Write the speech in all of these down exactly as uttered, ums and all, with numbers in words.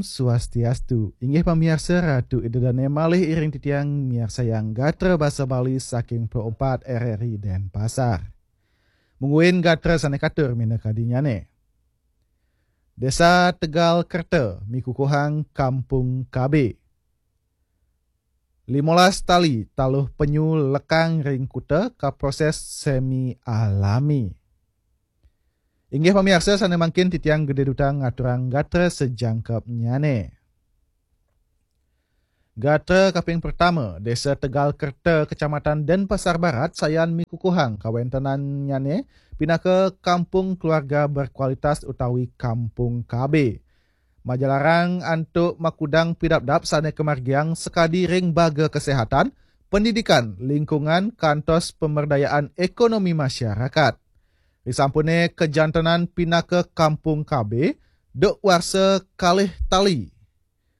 Swastiastu. Inggih pamiarsa, Ratu Ida Dane malih iring titiang miarsayang gatra basa Bali saking Pro empat R R I Denpasar. Mungguin gatra sane katur minakadinyane. Desa Tegal Kerta mikukuhang Kampung K B. Limolas tali taluh penyu lekang ring kuta kaproses semi alami. Inggih pamiarsa, sane mangkin titiang gede duta ngaturang gatra sejangkepnyane. Gatra kaping pertama, Desa Tegal Kerta, Kecamatan Denpasar Barat, sayan mikukuhang kawentenannyane pinaka kampung keluarga berkualitas utawi kampung K B. Majalarang antuk makudang pidabdab sane kamargiang sakadi ring baga kesehatan, pendidikan, lingkungan, kantos pemberdayaan ekonomi masyarakat. Risampune kajantenan pinaka kampung K B, duk warsa kalih tali,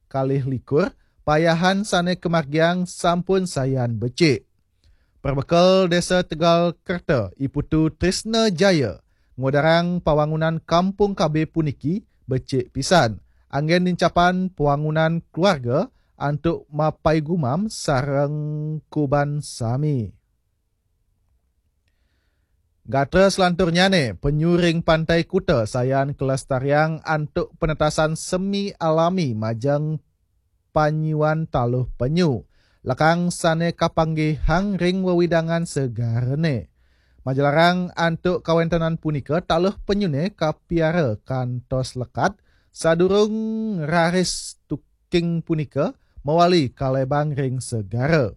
kalih likur, payahan sane kamargiang sampun sayan becik. Perbekel Desa Tegal Kerta, I Putu Trisna Jaya, ngudarang pawangunan kampung K B puniki becik pisan, anggen nincapang pawangunan keluarga antuk mapaigumam sareng kuban sami. Gatra selanturnyane, penyu ring pantai kuta sayan kelestariang antuk penetasan semi alami majeng panyuan taluh penyu, lekang sane kapanggihang ring wewidangan segarane. Majalarang antuk kawentenan punika, taluh penyune kapiara kantos lekat sadurung raris tuking punika mawali kalebang ring segara.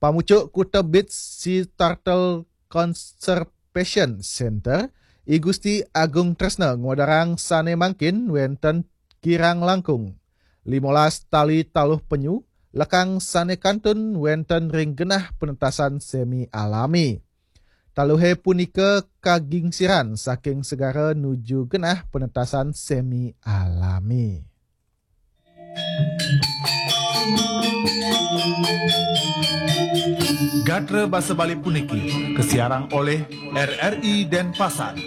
Pamucuk Kuta Beach Sea Turtle Conservation Center, I Gusti Agung Tresna ngudarang sane mangkin wenten kirang langkung limolas tali taluh penyu, lekang sane kantun wenten ring genah penetasan semi alami. Taluhe punika kagingsiran saking segara nuju genah penetasan semi alami. Gatra basa Bali puniki kasiarang oleh R R I Denpasar.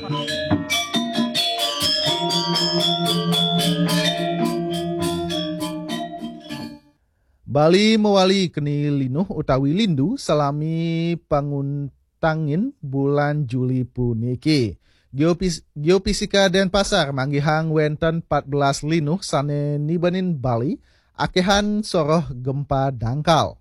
Bali mawali keni linuh utawi lindu salami panguntangin bulan Juli puniki. Geopis-, Geofisika Denpasar manggihang wenten empat belas linuh sane nibenin Bali, akehan soroh gempa dangkal.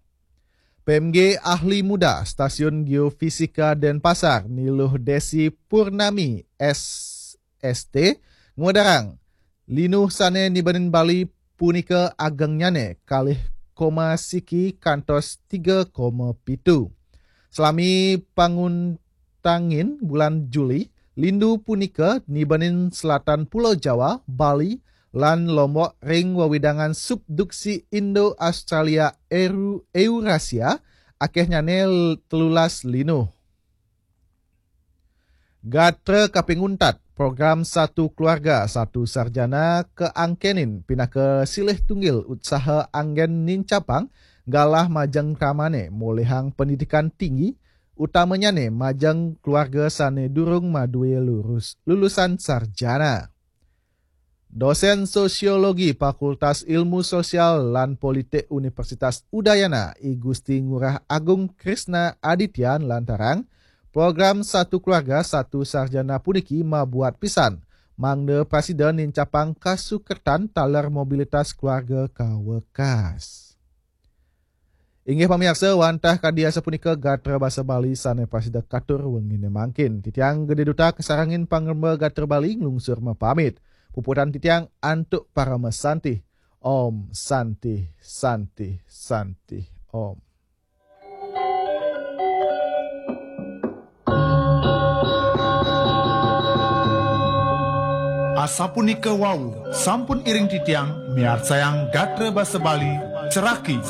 P M G ahli muda Stasiun Geofisika Denpasar, Ni Luh Desi Purnami, S S T, ngudarang linuh sane nibenin Bali punika agengnyane kalih koma siki kantos tiga koma pitu. Salami panguntangin bulan Juli, lindu punika nibenin selatan Pulau Jawa, Bali, lan Lombok ring wewidangan subduksi Indo-Australia Eru-, Eurasia, akehnyane telulas linuh. Gatra kaping untat, program Satu Keluarga, Satu Sarjana kaangkenin pinaka silih tunggil utsaha anggen nincapang galah majeng kramane molihang pendidikan tinggi, utamanyane majeng keluarga sane durung madue lurus, lulusan sarjana. Dosen Sosiologi Fakultas Ilmu Sosial lan Politik Universitas Udayana, I Gusti Ngurah Agung Krisna Aditya, nglantarang, program Satu Keluarga, Satu Sarjana puniki mabuat pisan mangda prasida nincapang kasukertan taler mobilitas keluarga kawekas. Inggih pamiarsa, wantah kadi asapunika gatra basa Bali sane prasida katur wengine mangkin. Titiang Gede Duta kasarengin pangremba gatra Bali nglungsur mapamit. Puputang titiang antuk parama santih. Om Santih, Santih, Santih, Om. Asapunika wau, sampun iring titiang miarsayang gatra basa Bali, Ceraki